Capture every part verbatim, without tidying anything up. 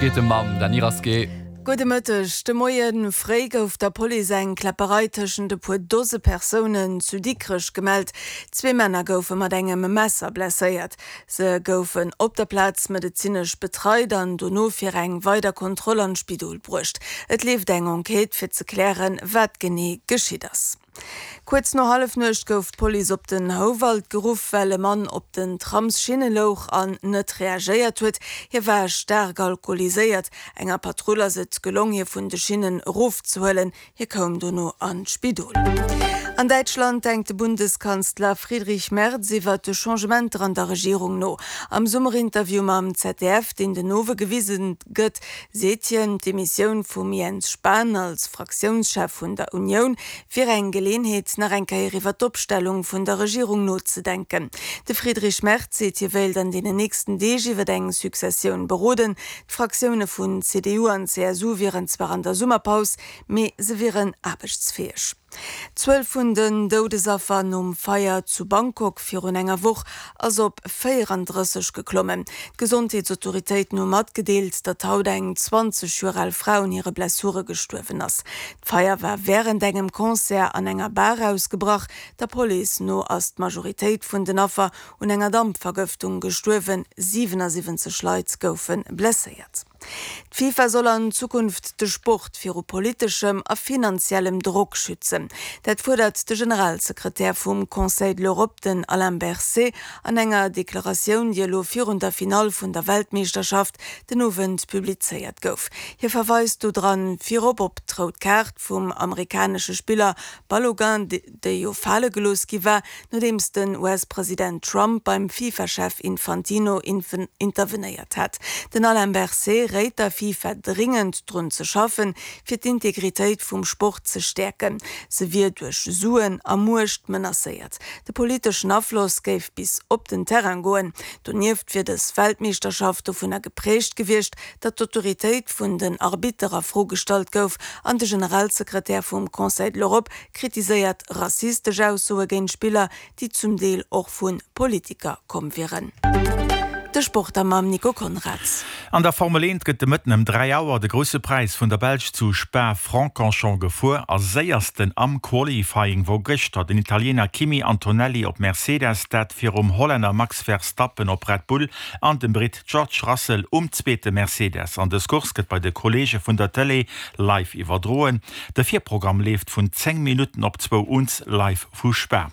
Geet de mam Dany Rasqué. Gudde Mëtteg. De Moie fréi gouf der Police eng Kläpperei tëschent e puer Dose Persounen zu Dikrech gemellt. Zwee Männer goufe mat engem Messer blesséiert. Se goufen op der Plaz medezinesch betreit an dono fir eng weider Kontroll an d'Spidol bruecht. Et leeft eng Enquête fir ze klären, wat genee geschitt ass. Kuerz no Hallefnuecht gouf d'Police op den Houwald geruff, well e Mann op den Tramsschinne louch an net reagéiert huet. Hie war staark alkoholiséiert. Enger Patrull ass et gelong, hie vun de Schinnen erofzehuelen. Hie koum dono an d'Spidol. An Däitschland denkt de Bundeskanzler Friedrich Merz iwwer de Changementer an der Regierung no. Am Summerinterview mam Z D F, deen den Owend gewisen gëtt, seet hien, d'Demissioun vum Jens Spahn als Fraktiounschef vun der Unioun wier eng Geleeënheet, nach eng Kéier iwwer d'Opstellung vun der Regierung nozedenken. De Friedrich Merz seet, hie wéilt an den nächsten Deeg iwwer eng Successioun beroden. D'Fraktioune vun C D U an C S U wieren zwar an der Summerpaus, mee se wieren aarbechtsfäeg. D'Zuel vun den Doudesaffer nom Feier zu Bangkok virun enger Woch ass op véierandrësseg geklommen. D'Gesondheetsautoritéiten hu matgedeelt, datt haut eng zwanzeg Joer al Fra un hire Blessure gestuerwen ass. D'Feier war wärend engem Concert an enger Bar ausgebrach. Der Police no ass d'Majoritéit vun den Affer un enger Dampvergëftung gestuerwen. siwenasiwwenzeg Leit goufe blesséiert. D'FIFA soll an Zukunft de Sport viru politeschem a finanziellem Drock schützen. Dat fuerdert de Generalsekretär vum Conseil de l'Europe, den Alain Berset, an enger Deklaratioun, déi elo virun der Finall vun der Weltmeeschterschaft den Owend publizéiert gouf. Hie verweist do dran virop op d'rout Kaart vum amerikanesche Spiller Balogun, déi jo fale gelooss gi war, nodeems den U S-President Trump beim FIFA-Chef Infantino intervenéiert hat. Den Alain Berset réit der FIFA dringend drun ze schaffen, fir d'Integritéit vum Sport ze stäerken. Se wier duerch Suen a Muecht menacéiert. De politeschen Afloss géif bis op den Terrain goen. Donieft wier dës Weltmeeschterschaft dovunner gepräägt gewiescht, datt d'Autoritéit vun den Arbitter a Fro gestallt gouf an de Generalsekretär vum Conseil de l'Europe kritiséiert rassistesch Aussoe géint Spiller, déi zum Deel och vu Politiker komm wieren. De Sport mam Nico Konrads. An der Formel eent gëtt de Mëtten ëm dräi Auer de Grousse Präis vun der Belsch zu Spa-Francorchamps gefuer. A séiersten am Qualifying wor gëschter den Italiener Kimi Antonelli op Mercedes, dat virum Hollänner Max Verstappen op Red Bull an dem Britt George Russell um zweete Mercedes. An dës Course gëtt bei de Kolleege vun der Tëlee live iwwerdroen. De Virprogramm leeft vun zéng Minutten op zwou un live vu Spa.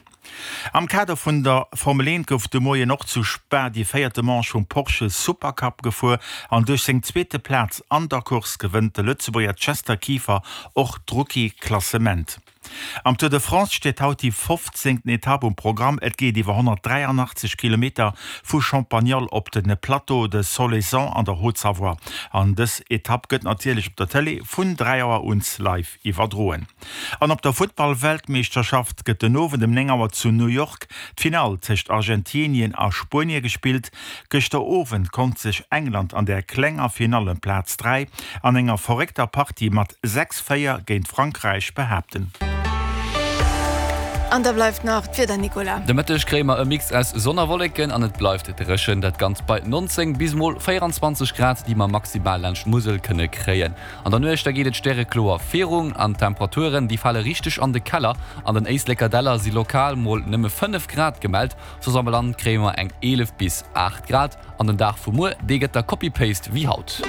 Am Kader vun der Formel eent gouf de Moien och zu Spa déi véierte Manche vum Porsche Supercup gefuer an duerch seng zweete Plaz an der Course gewënnt de Lëtzebuerger Chester Kieffer och d'Rookie-Klassement. Am Tour de France steet haut déi fofzéngten Etapp um Programm. Et geet iwwer honnertdräianachtzeg Kilometer vu Champagnole op de Plateau de Solaison an der Haute-Savoie. An dës Etapp gëtt natierlech op der Tëlee vun dräi Auer un live iwwerdroen. An op der Futtball-Weltmeeschterschaft gëtt den Owend um néng Auer zu New York d'Finall tëscht Argentinien a Spuenie gespillt. Gëschter Owend konnt sech England an der klenger Finall ëm Plaz dräi an enger verréckter Partie mat sechs véier géint Frankräich behaapten. An da bleift nach d'Wieder, Nicolas. De Mëtteg kréie mer e Mix aus Sonn a Wolleken an et bleift dréchen. Dat Ganzt bei nonzéng bis mol véieranzwanzeg Grad, déi mer maximal laanscht d'Musel kënne kréien. An der Nuecht da geet et stärekloer virun an d'Temperaturen déi fale richteg an de Keller. An den Éisleker Däller si lokal mol nëmme fënnef Grad gemellt, soss am Land kréie mer eng eelef bis aacht Grad. An den Dag vu muer, dee gëtt da Copy-Paste wéi haut.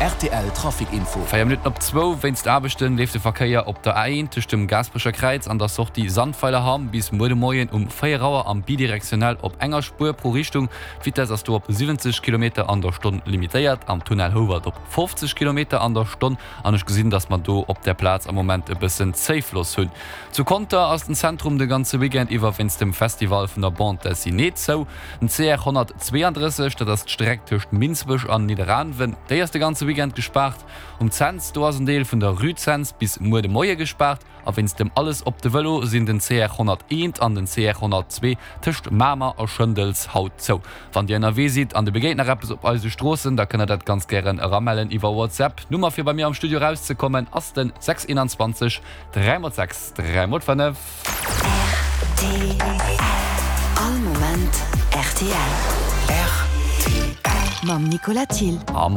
R T L Trafic Info. Véier Minutten op zwou. Wéinst Aarbechten leeft de Verkéier op der A eent tëscht dem Gaasperecher Kräiz an der Sortie Sandweilerhamm bis muer de Moien um véier Auer am bidirektionell op enger Spuer pro Richtung. D'Vitess ass do op siwwenzeg Kilometer an der Stonn limitéiert, am Tunnel Houwald op fofzeg Kilometer an der Stonn. An ech gesinn, dass mer do op der Plaz am Moment e bëssen Zéifloss hunn. Zu Conter ass den Zentrum de ganze Weekend iwwer wéinst dem Festival vun der Bande Dessinée zou. Den C R honnertzweeandrësseg, dat ass d'Streck tëscht Minsbech an Nidderaanwen, déi ass de ganze Weekend gespaart. Um Cents, do ass en Deel vun der Rue Cents bis muer de Moie gespaart. A wéinst dem Alles op de Vëlo sinn den C R honnerteent an den C R honnertzwee tëscht Mamer a Schëndels haut zou. Wann Dir ënnerwee sidd an Dir begéint nach eppes op eise Stroossen, da kënnt der dat ganz gären eramellen iwwer WhatsApp. D'Nummer fir bei mir am Studio erauszekommen ass den sechs einundzwanzeg dräi mol sechs dräi mol fënnef. R T L. All Moment R T L. R T L. Mam Nicolas Thill. A